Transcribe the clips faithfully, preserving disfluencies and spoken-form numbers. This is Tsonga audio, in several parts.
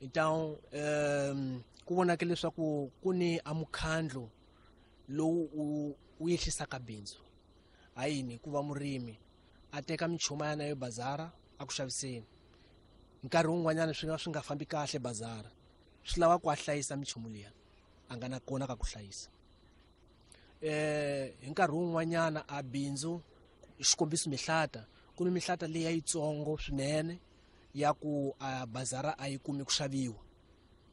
Então um ku vonake leswaku ku ni a mukhandlu lowu u wu yehlisaka bindzu. Hayini hikuva murimi a teka minchumu ya yena yo bazara a ku xaviseni, nkarhi wun'wanyana swi nga swi nga fambi kahle bazara, swi lava ku a hlayisa minchumu liya a nga na kona ka ku hlayisa. eh hi nkarhi wun'wanyana a bindzu, xikombiso mihlata, ku ni mihlata leyi yitsongo swinene ya ku a bazara a yi kumi ku xaviwa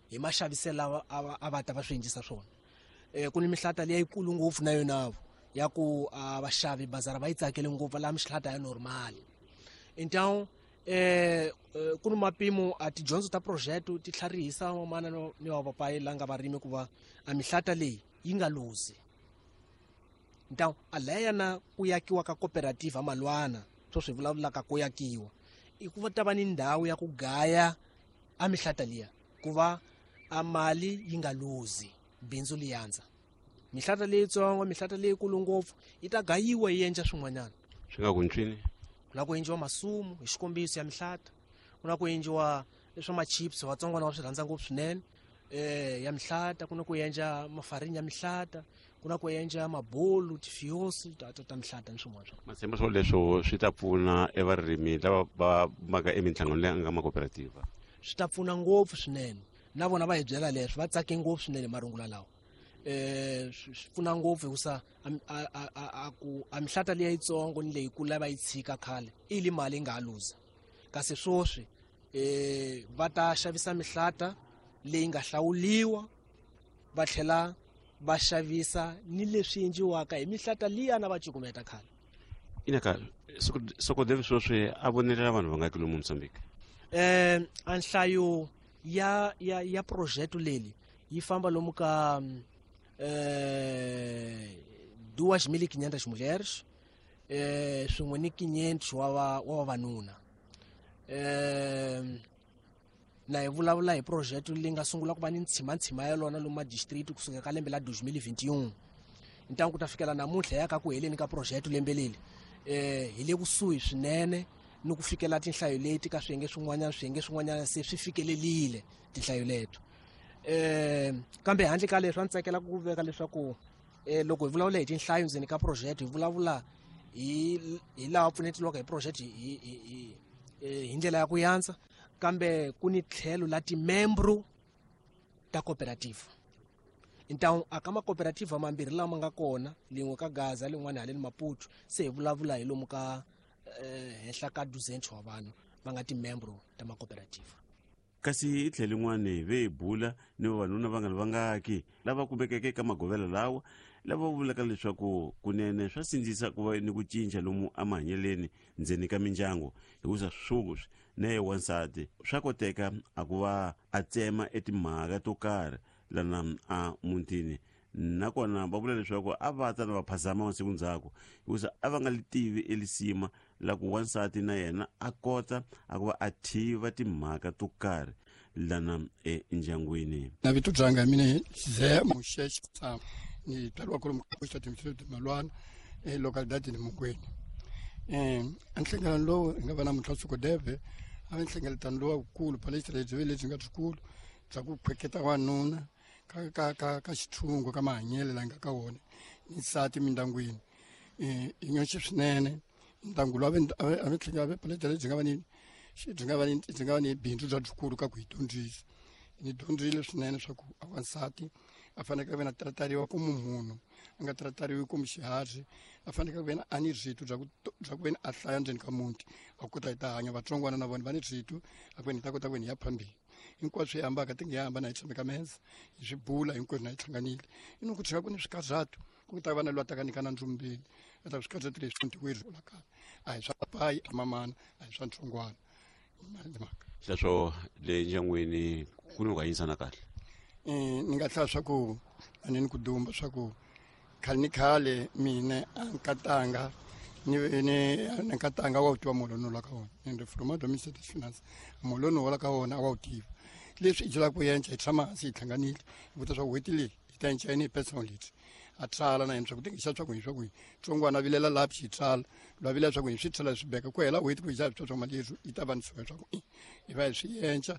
hi maxaviselo lawa a va ta va swi endlisa swona. eh ku ni mihlata leyi yikulu ngopfu na yona ya ku a vaxavi bazara va yi tsakele ngopfu la mihlata ya normal. Então eh ku ni mapimo a tidyondzo ta project ti tlharihisa vamana ni va papayi la nga varimi ku va a mihlata leyi yi nga luzi. Então a leya na ku yakiwa ka cooperative malwana swo swi vulavulaka ku yakiwa i ku va ta va ni ndhawu ya ku gaya a mihlata liya ku va a mali yi nga luzi, bindzu li yandza. Mihlata leyitsongo, mihlata leyikulu ngopfu yi ta gayiwa yi endla swin'wanyana. Swi nga ku ncwini? Ku na ku endliwa masumu hi xikombiso ya mihlata, ku na ku endliwa leswa ma-chips vatsongwana va swi rhandza ngopfu swinene eh ya mihlata, ku na ku endla mafarini ya mihlata, ku na ku endla mabolu, tifiosi ta ta, ta mihlata ni swin'wana swa. Matshemba swo leswo swi ta pfuna evarimi lava va maka eminhlangano leyi nga ma cooperative? Swi ta pfuna ngopfu swinene, na vona va hi byela leswi, va tsake ngopfu swinene marungula lawa. Eh swi pfuna ngopfu hikusa a a ku a mihlata leyi yitsongo ni leyikulu lava yi tshika khale i li mali yi nga ha luza, kasi swoswi eh va ta xavisa mihlata leyi nga hlawuliwa, va tlhela va xavisa ni leswi endliwaka hi mihlata liya na va cukumeta khale. Inaka SOCODEV sweswi a vonelela vanhu va nga ki lomu Mozambique? Eh a nhlayo ya ya ya project leli yi famba lomu ka eh duas mil e quinhentas mulheres eh swin'we ni quinhentos wa wa vavanuna. Eh na hi vulavula hi project leyi nga sungula ku va ni ntshimantshima ya lona lomu madistrict kusuka ka lembe la dois mil e vinte e um. Então ku ta fikela namuntlha ya ka ku heleni ka project lembe leri eh hi le kusuhi swinene ni ku fikela tinhlayo leti ka swiyenge swin'wanyana, swiyenge swin'wanyana se swi fikelelile tinhlayo leto. Eh kambe handle ka leswi a ndzi tsakela ku veka leswaku eh loko hi vulavula hi tinhlayo ndzeni ka project, hi vulavula hi hi laha pfunetiwaka hi project hi hi hi hi ndlela ya ku yandza, kambe ku ni tlhelo la timembro ta cooperative. Então a ka ma-cooperative mambirhi lama nga kona, lin'we ka Gaza lin'wana haleni Maputo, se hi vulavula hi lomu ka eh henhla ka duzentos wa vanhu va nga timembro ta ma-cooperative. Kasi hi tlhelo rin'wana ve hi bula ni vavanuna va nga vangaki lava kumekeke eka magovela lawa, lava vulaka leswaku kunene swa sindzisa ku va ni ku cinca lomu emahanyeleni ndzeni ka mindyangu, hikusa swoswi na ye wansati swa koteka a ku va a tsema etimhaka to karhi lana a mutini. Nakona va vula leswaku a va ta na va phazama masiku ndzhaku, hikusa a va nga li tivi elisima la ku wansati na yena a kota a ku va a tiva timhaka to karhi lana endyangwini. Na vito byanga mina Ze Muxexi Tsama, ni tswariwa kwalomu ka Xitati Malwana e localidade ni Mungweni. Eh a nhlengeletano lowu hi nga va namuntlha SOCODEV a va nhlengeletano lowukulu palestra lebyi lebyi nga byikulu bya ku khweketa wanuna ka ka ka ka xithungo ka mahanyelo la nga ka wona ni nsati mindyangwini. Eh i nyoxe swinene ndyangu lowu a va tlhela va palestra lebyi nga va ni byi nga va ni byi nga va ni bindzu bya byikulu ka ku hi dyondzisa. Ni dyondzile swinene swa ku a wansati a fanekele ku ve na tratariwa ku munhu a nga tratariwi ku xiharhi, a fanekele ku ve na a ni rito bya ku bya ku ve ni a hlaya ndzeni ka muti a kota hi ta hanya. Vatsongwana na vona va ni rito a ku ve ni ta kota ku ve ni ya phambili. Hinkwaswo hi hambaka ti nge hambana hi tshame ka meza hi swi bula hinkwenu na hi hlanganile. I ni ku tshika ku ni swikazatu ku ta va na loyi a taka nyika na ndzumbeni a ta swikazatu leswi ntiweri la kaya a hi swa papayi a mamana a hi swa ntsongwana mhaka. Sweswo le ndyangwini ku ni ku hanyisana kahle? Eh ni nga hlaya swa ku a ni ni ku dumba swa ku khale ni khale mina a nkatanga ni ni nkatanga wa wu tiva muholo la ka wona ni ri from Minister of Finance muholo wa la ka wona a wa wu tiva. Leswi i byelaka ku yenca hi tshama hansi hi hlanganile hi vutisa swa ku n'hweti leyi hi ta yenca yini hi personal leti a tsala na yena swa ku ti xa swa ku hi swa ku hi tsongwana vilela laha xi tsala lwa vilela swa ku hi swi tsala swi beka ku hela n'hweti ku hi xa swa mali leswi yi ta va ni swa ku hi va hi swi yenca.